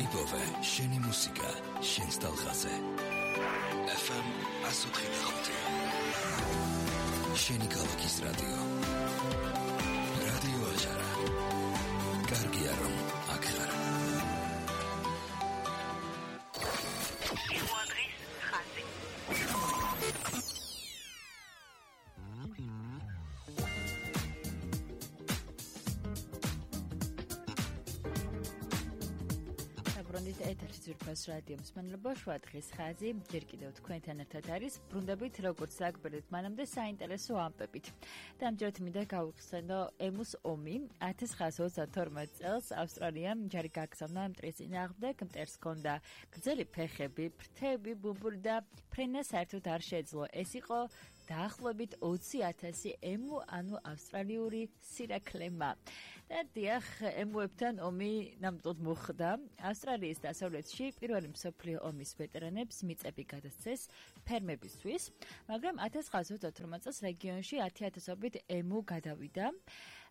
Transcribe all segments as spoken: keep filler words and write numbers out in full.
იპოვე შენი მუსიკა შენს ტალღაზე. ეფ ემ one oh five. შენი ქალაქის რადიო. რადიო აჟარა. კარგია რომ აქ ხარ. ბრუნდით ეთერში ძვირფას რადიო მსმენელებო, შუა დღის ხაზი ჯერ კიდევ თქვენთან ერთად არის. ბრუნდებით როგორც საკვირით მანამდე საინტერესო ამბებით. დამჯერად მინდა გავიხსენო ემუს ომი one thousand nine hundred twenty-two წელს ავსტრალიამ ჯარი გაგზავნა მტრის წინააღმდეგ. მტერს ჰქონდა გრძელი ფეხები, ფრთები, ბუმბული და ფრენა საერთოდ არ შეეძლო. ეს იყო დაახლოებით ოცი ათასი ემუ, ანუ ავსტრალიური სირაქლემა. და დიახ, ემუებთან ომი ნამდვილად მოხდა. ავსტრალიის დასავლეთში პირველი მსოფლიო ომის ვეტერანებს მიწები გადასცეს ფერმებისთვის, მაგრამ one thousand nine hundred twenty-three წელს რეგიონში ათი ათასობით ემუ გადავიდა.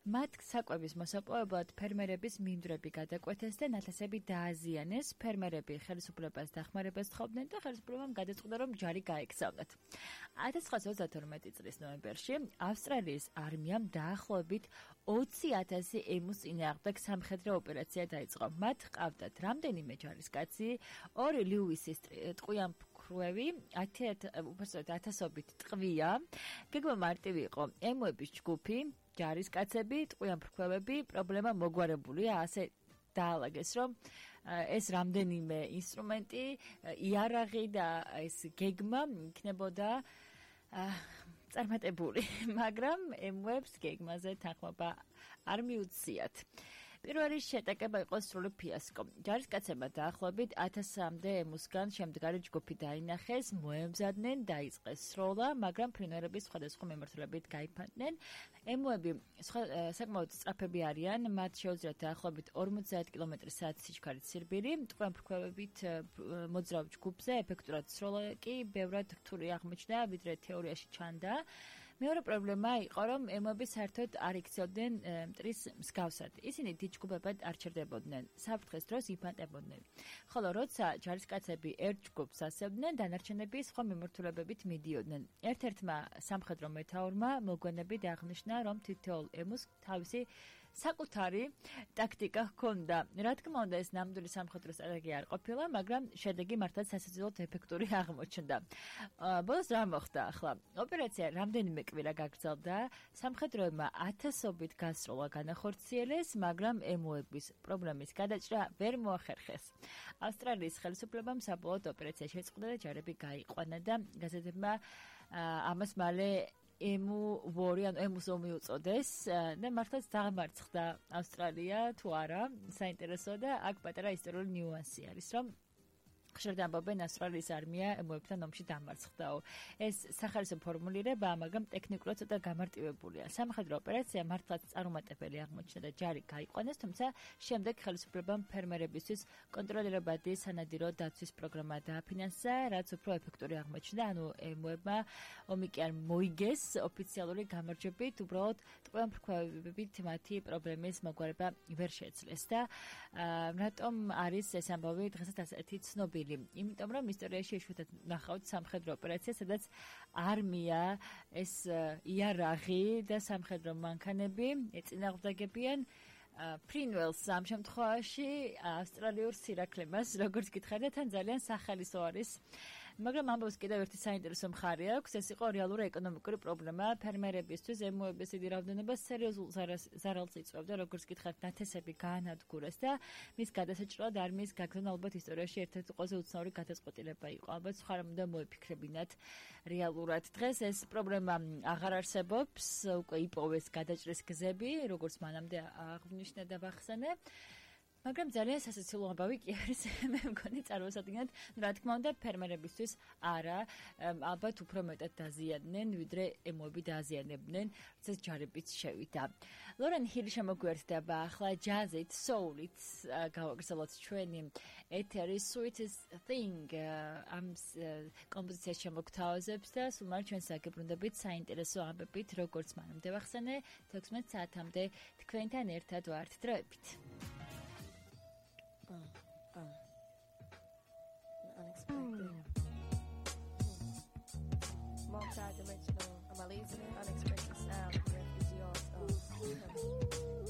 მათ საკვების მოსაპოვებლად ფერმერების მინდვრები გადაკვეთეს და ნათესები დააზიანეს. ფერმერები ხელისუფლებას დახმარებას თხოვდნენ და ხელისუფლებამ გადაწყვიტა, რომ ჯარი გაეგზავნათ. one thousand nine hundred twenty წლის ნოემბერში ავსტრალიის არმიამ დაახლოებით ოცი ათასი ემუს წინააღმდეგ სამხედრო ოპერაცია დაიწყო. მათ ჰყავდათ რამდენიმე ჯარისკაცი, ორი ლიუისის ტყვიამფრქვევი, ათასობით ტყვია. გეგმა მარტივი იყო. ემუების ჯგუფი, ჯარისკაცები, ტყვიამფრქვევები, პრობლემა მოგვარებულია, ასე დაალაგეს, რომ ეს რამდენიმე ინსტრუმენტი, იარაღი და ეს გეგმა იქნებოდა წარმატებული, მაგრამ ემუებს გეგმაზე თანხმობა არ მიუციათ. პირველი შეტაკება იყო სრული ფიასკო. ჯარისკაცებმა დაახლოებით ათასამდე ემუსგან შემდგარი ჯგუფი დაინახეს, მოემზადნენ, დაიწყეს სროლა, მაგრამ ფრინველების სხვადასხვა მიმართულებით გაიფანტნენ. ემუები საკმაოდ სწრაფები არიან, მათ შეუძლიათ დაახლოებით ორმოცდაათ კილომეტრის საათის სიჩქარით სირბილი. ტყვიამფრქვევებით მოძრავ ჯგუფზე ეფექტურად სროლა კი ბევრად რთული აღმოჩნდა, ვიდრე თეორიაში ჩანდა. მეორე პრობლემა იყო, რომ ემუები საერთოდ არ იქცეოდნენ მტრის მსგავსად. ისინი დიდ ჯგუფებად არ ჩერდებოდნენ, საფრთხეს დროს იფანტებოდნენ. ხოლო როცა ჯარისკაცები ერთ ჯგუფს ასევდნენ, დანარჩენები სხვა მიმართულებებით მიდიოდნენ. ერთ-ერთმა სამხედრო მეთაურმა მოგვიანებით აღნიშნა, რომ თითოეულ ემუს თავისი საკუთარი ტაქტიკა ჰქონდა. რა თქმა უნდა, ეს ნამდვილი სამხედრო სტრატეგია არ ყოფილა, მაგრამ შედეგი მართლაც სასაცილოდ ეფექტური აღმოჩნდა. ბოლოს რა მოხდა ახლა? ოპერაცია რამდენიმე კვირა გაგრძელდა. სამხედროებმა ათასობით გასროლა განახორციელეს, მაგრამ ემუების პრობლემის გადაჭრა ვერ მოახერხეს. ავსტრალიის ხელისუფლებამ საბოლოოდ ოპერაცია შეწყდა და ჯარები გაიყვანა და გაზეთებმა ამას მალე ემუ ვორი, ანუ ემუს ომი უწოდეს და მართლაც დამარცხდა ავსტრალია თუ არა, საინტერესოა და აქ პატარა ისტორიული ნიუანსი არის, რომ ხშირად ამბობენ ავსტრალიის არმია ემუებთან ომში დამარცხდაო. ეს სახარისო ფორმულირებაა, მაგრამ ტექნიკურად ცოტა გამარტივებულია. სამხედრო ოპერაცია მართლაც წარუმატებელი აღმოჩნდა და ჯარი გაიყვანეს, თუმცა შემდეგ ხელისუფლებამ ფერმერებისთვის კონტროლირებადი სანადირო დაცვის პროგრამა დააფინანსა, რაც უფრო ეფექტური აღმოჩნდა. ანუ ემუებმა ომი კი არ მოიგეს ოფიციალური გამარჯვებით, უბრალოდ ტყვიამფრქვევებით მათი პრობლემის მოგვარება ვერ შეძლეს და რატომ არის ეს ამბავი დღესაც ასეთი ცნობილი? იმიტომ რომ ისტორიაში იშვიათად ნახავთ სამხედრო ოპერაცია, სადაც არმია, ეს იარაღი და სამხედრო მანქანები ეწინააღმდეგებიან ფრინველს, ამ შემთხვევაში ავსტრალიურ სირაქლემას, როგორც გითხარით, თან ძალიან სახალისო არის. მაგრამ ამბობს კიდევ ერთი საინტერესო მხარე აქვს, ეს იყო რეალური ეკონომიკური პრობლემა. ფერმერებისთვის ემუების დიდი რაოდენობა სერიოზულ ზარალს იწვევდა, როგორც გითხარით, ნათესები გაანადგურეს და მის გადასაჭრელად არმიის გაგზავნა ალბათ ისტორიაში ერთ-ერთი ყველაზე უცნაური გადაწყვეტილება იყო. ალბათ სხვა რამ უნდა მოიფიქრებინათ რეალურად. დღეს ეს პრობლემა აღარ არსებობს, უკვე იპოვეს გადაჭრის გზები, როგორც მანამდე აღნიშნე და ვახსენე. მაგრამ ძალიან სასაცილო ამბავი კი არის, მე მგონი წარმოსადგინეთ, რა თქმა უნდა, ფერმერებისთვის არა, ალბათ უფრო მეტად დაზიანდნენ, ვიდრე ემუები დააზიანებდნენ, როდესაც ჯარებიც შევიდა. ლორენ ჰილი შემოგვიერთდება ახლა ჯაზით, soul-ით გავაგრძელოთ ჩვენი ეთერი Sweetest Thing ამ კომპოზიციას შემოგთავაზებს და სულ მარტო ჩვენ საგებრუნდებით საინტერესო ამბებით, როგორც მანამდე ვახსენე, თექვსმეტ საათამდე თქვენთან ერთად ვართ დროებით. Uh, uh. მოგესალმებით.